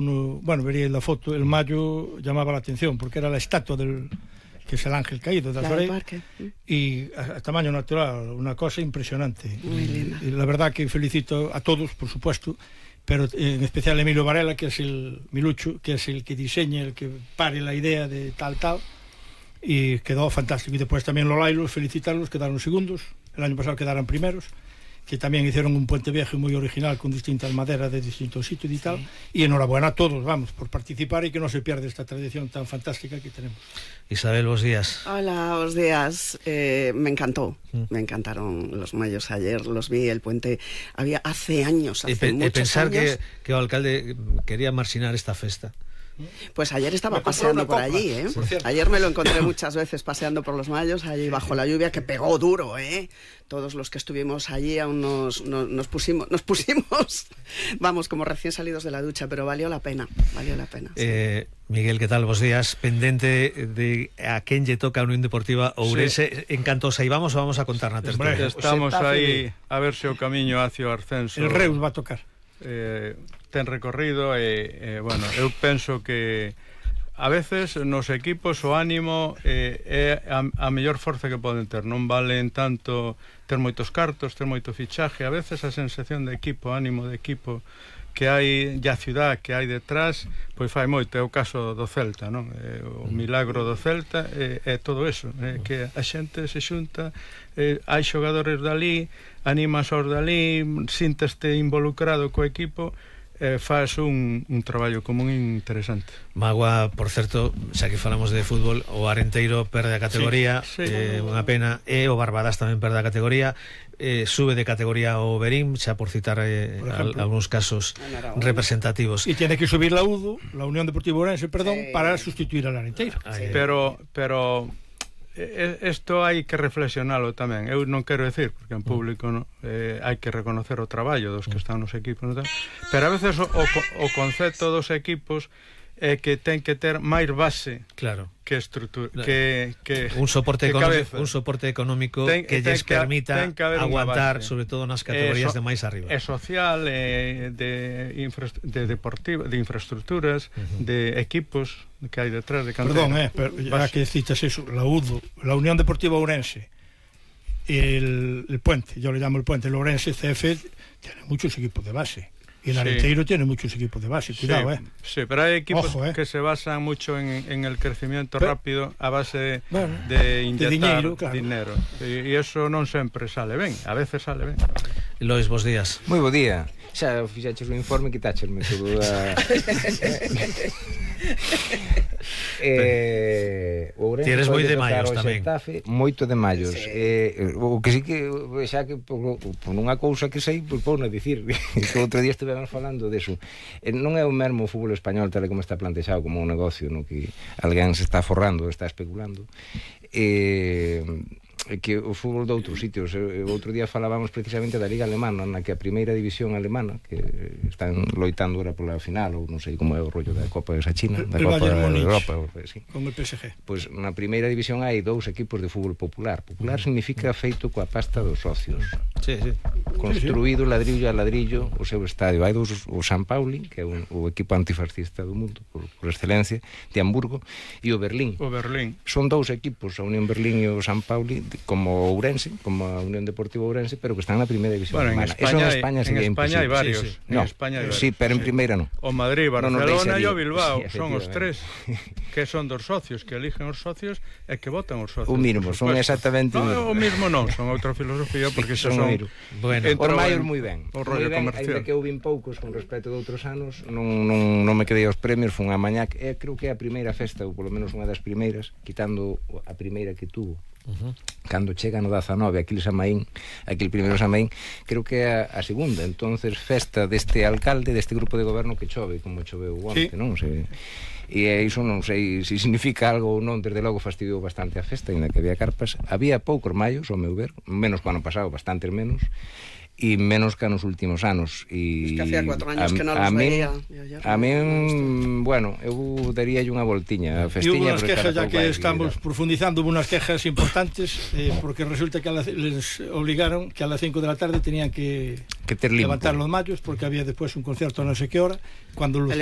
Bueno, vería la foto, el mayo llamaba la atención porque era la estatua que es el ángel caído de Azorei, y a tamaño natural, una cosa impresionante. Y la verdad que felicito a todos, por supuesto, pero en especial a Emilio Varela, que es el Milucho, que es el que diseña, el que pare la idea de tal, y quedó fantástico. Y después también Lolailos, felicitarlos, quedaron segundos, el año pasado quedaron primeros, que también hicieron un puente viejo muy original con distintas maderas de distintos sitios y tal, y enhorabuena a todos, vamos, por participar y que no se pierda esta tradición tan fantástica que tenemos. Isabel, buenos días. Hola, buenos días. Me encantó, me encantaron los mayos ayer, los vi, el puente había hace años, hace muchos pensar años. que o alcalde quería marxinar esta festa. Pues ayer estaba paseando por allí, Ayer me lo encontré muchas veces paseando por los mayos, allí bajo la lluvia, que pegó duro, Todos los que estuvimos allí aún nos pusimos, vamos, como recién salidos de la ducha, pero valió la pena, sí. Miguel, ¿qué tal? Buenos días. Pendente de a quién le toca a Unión Deportiva Ourense, sí. En canto saibamos, vamos a contar na tertulia. Estamos aí a ver se o camiño hacia o ascenso. El Reus va a tocar. Ten recorrido bueno, eu penso que a veces nos equipos o ánimo é a mellor forza que poden ter, non valen tanto ter moitos cartos, ter moito fichaje, a veces a sensación de equipo, ánimo de equipo que hai, e a ciudad que hai detrás, pois fai moito. É o caso do Celta, non? O milagro do Celta é todo eso, que a xente se xunta, hai xogadores dali, animas aos dali, sinteste involucrado co equipo, faz un traballo común interesante. Magua, por certo, xa que falamos de fútbol, o Arenteiro perde a categoría, sí. Unha pena, e o Barbadas tamén perde a categoría, sube de categoría o Berín, xa por citar algúns casos representativos. E tiene que subir la UDO, la Unión Deportiva Ourense, perdón, para sustituir al Arenteiro. Pero isto hai que reflexionalo tamén. Eu non quero decir, porque en público hai que reconocer o traballo dos que están nos equipos, pero a veces o concepto dos equipos é que ten que ter máis base, claro, que estrutura, que un soporte económico que lles permita aguantar, sobre todo nas categorías de máis arriba. É social, de infraestructuras, de equipos que hai detrás de cantera. Perdón, pero ya que citas eso, la UDO, la Unión Deportiva Ourense, el Puente, yo le llamo el Puente, el Ourense CF tiene muchos equipos de base. Y el Arenteiro tiene muchos equipos de base, cuidado, Sí, pero hay equipos que se basan mucho en el crecimiento rápido a base de inyectar dinero. Y eso non sempre sale ben, a veces sale ben. Lois, bons días. Moi bo día. Xa fixaches o informe, quitáchesme todo Tienes moi de maios tamén. Moito de maios. O que sí que xa que por unha cousa que sei, pois pou non dicir que outro día estivemos falando deso. Non é o mesmo o fútbol español tal como está plantexado como un negocio no que alguén se está forrando, está especulando, que o fútbol de outros sitios. Outro día falábamos precisamente da Liga Alemana, na que a primeira división alemana, que están loitando ahora pola final, ou non sei como é o rollo da Copa de esa China, da Copa de Europa, sí. Con el PSG. Pois na primeira división hai 2 equipos de fútbol popular. Popular significa feito coa pasta dos socios. Sí. Construído ladrillo a ladrillo o seu estadio. Hai 2, o San Pauli, que é o equipo antifascista do mundo por excelencia, de Hamburgo, e o Berlín. Son 2 equipos, a Unión Berlín e o San Pauli, como Ourense, como a Unión Deportiva Ourense, pero que están na primeira división alemana. Eso en España sería imposible. Hai varios. No, sí, pero en primeira non. O Madrid, Barcelona e o Bilbao son os 3 que son dos socios, que eligen os socios e que votan os socios. O mismo, son exactamente o mismo non, son outra filosofía, porque son bueno, os maior moi ben. O rollo comercial. Ainda que eu vin poucos con respecto de outros anos, non me quedei aos premios, foi unha mañá, creo que é a primeira festa, ou polo menos unha das primeiras, quitando a primeira que tuvo. Cando chega no 19 aquel Samaín, aquel primeiro Samaín, creo que é a segunda. Entonces festa deste alcalde, deste grupo de goberno que chove, como choveu onte, non sei. E iso non sei se significa algo ou non. Desde logo fastidiou bastante a festa, ainda que había carpas. Había poucos maios, ao meu ver, menos que o ano pasado, bastantes menos. e menos que nos últimos anos. Es que hacía 4 años que non los veía. A min, bueno, eu daríalle unha voltiña a festiña. E hubo unas quejas, ya que estamos profundizando, hubo unas quejas importantes, porque resulta que les obligaron que a las 5 de la tarde tenían que levantar los mallos, porque había después un concierto a no sé qué hora, cuando los